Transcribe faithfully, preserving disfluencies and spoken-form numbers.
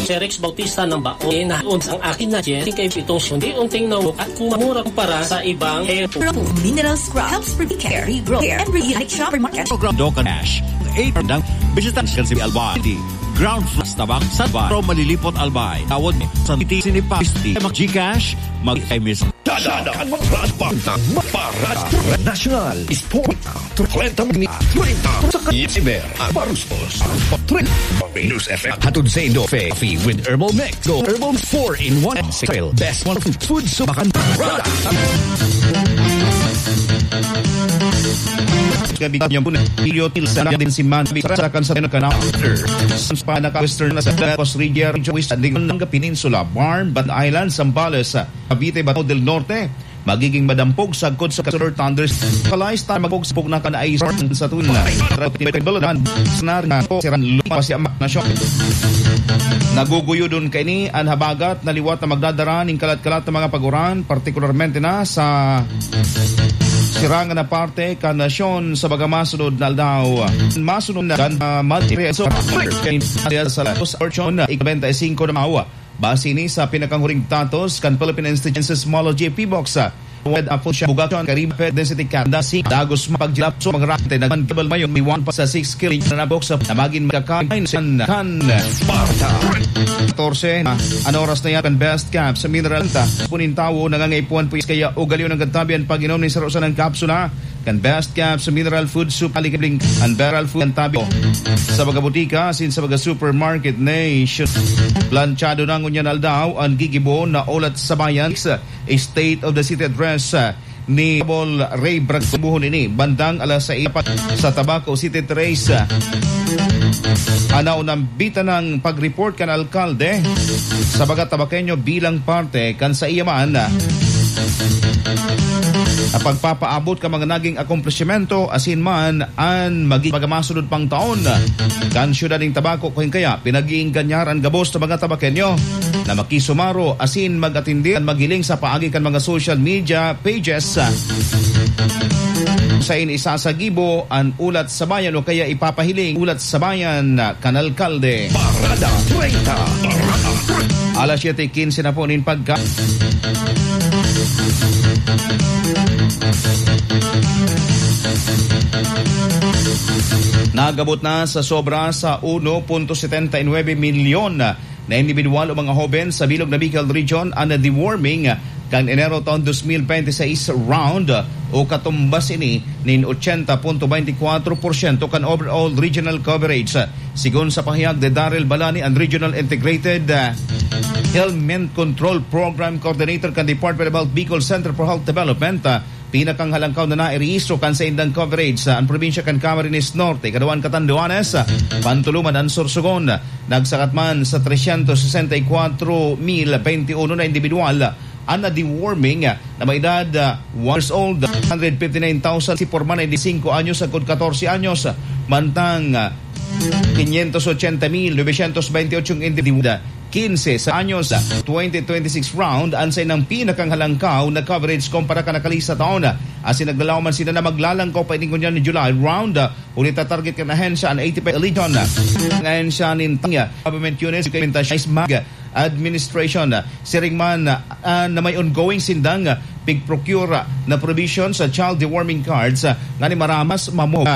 Cherex Bautista ng Baon, eh, nahaon ang akin na yen, kay itong sundi, unting naubok at kumamura kumpara sa ibang airport. Mineral Scrub helps prevent care, regrow hair, and reunite shopper market. Program Dokan Ash, eight ng Bisitang Scan si Albay. Ground Floor, Tabak, Sabah, Pro Malilipot Albay. Tawad mo sa T T C ni Pasti, mag-Gcash, mag-I M S. Dada, Dada, Parada National Sport. Treinta, treinta, treinta, sa Kasimer, Barustos, treinta, News F M. Hatod sa Indo, Fe, Fe with Herbal Mix. Go Herbal four in one. Best one food, so bakan. Gabi niyo po na, Ilio Til, sa Nadin, si Man, sa Kansa, Kanal. Sa Panaka, Western, sa Lagos Region, West, Andigan, Peninsula, Barm, Bat Island, Zambales, Cavite, Bato del Norte, magiging madampog sagkod sa kasunod thunders. Kalay star magpog sa pugna kan ay sa tun. Scenario po, Siran Lupa, si Amak Nasyon. Naguguyodon kaini an habagat na liwat na magdadara nin kalat-kalat na mga paguran, partikularmente na sa sirangan na parte kan nasyon sa mga masunod na aldaw. Masunod na kan, ah, Madre, so, sa Fortune, ikabenta y singko na mawa. Base ni sa pinakanghuring datos kan Philippine Institute of Seismology, PHIVOLCS, Wed Apo siya Bugakon, Karibe, Density Kanda, si Dagos, Mapaglapso, mga rante, nagmanggabal mayon, may one pa sa six kilometer na buksa, na magin makakain, kan, kan, katorse, na, an oras na yan, kan Best Cap sa Mineral, ta, punin tawo, nangangaipuhan po, kaya ugaliw ng gatabi, ang pag-inom ni Sarosa ng kapsula, kan Best Cap sa Mineral Food Soup, alikabling, ang Beral Food, ang tabi, sa mga butika, asin sa mga supermarket, nation, planchado na ngunyan aldaw, ang gigibo, na ulat sa bayan, sa State of the City Address, ah, ni Honorable Ray Bragbuhon ini, bandang alas sais pa sa Tabaco City Trace. Ah, anaw nang bitanang pag-report kan alkalde sa mga Tabaqueño bilang parte kan sa iya man, ah, na pagpapaabot ka mga naging akomplishmento asin man an maging pagamasunod pang taon kan siyudad nin Tabaco, kung kaya pinag-iingganyar an gabos na mga Tabaqueño na makisumaro asin mag-atindi an maghiling sa paagi kan mga social media pages. Sain isasagibo an ulat sa bayan o kaya ipapahiling ulat sa bayan kan alkalde. Parada treinta. Alas siyete quince na po nin pagka. Nagabot na sa sobra sa uno punto setenta y nuebe milyon na individual o mga hoben sa bilog na Bicol Region an deworming kan Enero taon dos mil benti seis round o katumbas ini nin ochenta punto benti kwatro porsyento kan overall regional coverage. Sigon sa pahayag ni Daryl Balani, an Regional Integrated, ah, Ailment Control Program Coordinator kan Department of Health Bicol Center for Health Development, ah, pinakanghalangkaw na nairehistro kan saindang coverage sa an probinsya kan Camarines Norte, Caduan, Catanduanes, Pantuluman, an Sorsogon. Nagsakat man sa trescientos sesenta y cuatro mil veintiuno na individual an na-deworming na may edad, ah, one years old, hundred fifty-nine thousand si porma na singko anyos sagkod katorse anyos, mantang, ah, quinientos ochenta mil novecientos veintiocho ang individual, quince sa anyos, twenty twenty-six round an saindang pinakanghalangkaw na coverage kumpara kan nakalista taon. Asin naglalaw man sila na maglalangkaw pa ini ngunyan ni July round, huli ta target kan ahensya an eighty-five Legion. Ang ahensya nin Tang Government Units, Education, Mag Administration. Siring man, ah, na may ongoing sindang, ah, pig-procure, ah, na provision sa child deworming cards, ah, ngani maramas mamo, ah,